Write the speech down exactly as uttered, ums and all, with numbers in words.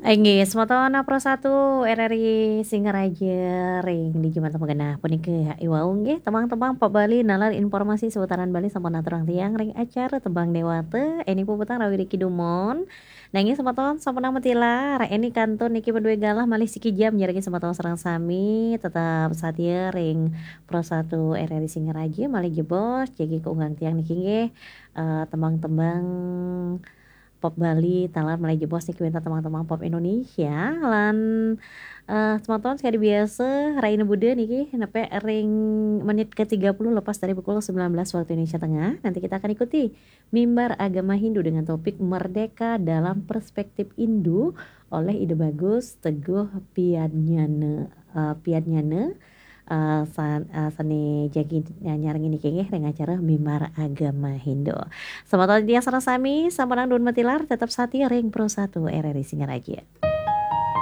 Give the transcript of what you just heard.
Inggih, semeton Pro satu R R I Singaraja ring di Jumat manggenah puniki iwau nggih, tembang-tembang pop Bali nalar informasi seputaran Bali sampun aturang tiang ring acara Tembang Dewata, eni puputang rawi ring kidumon. Nanging semeton sampunang matilar, eni kantun niki madué galah malih siki jam, ngiring semeton sareng sami tetep satia ring Pro satu R R I Singaraja, malih jebos, jagi kaunggang tiang niki nggih, eh, tembang-tembang pop Bali, taler malih jebos niki wénten tembang-tembang pop Indonesia, lan, eh, semeton sekadi biasa, rahina Buda niki, nepek ring menit ke tiga puluh lepas dari pukul sembilan belas waktu Indonesia Tengah. Nanti kita akan ikuti mimbar agama Hindu dengan topik Merdeka dalam Perspektif Hindu oleh Ida Bagus Teguh Piadnyana, eh, Piadnyana, eh, san-, eh, sané jagi nyarengin niki nggih ring acara Mimbar Agama Hindu. Semeton tiang sareng sami, sampunang dumun matilar, tetep satia ring Pro satu R R I Singaraja.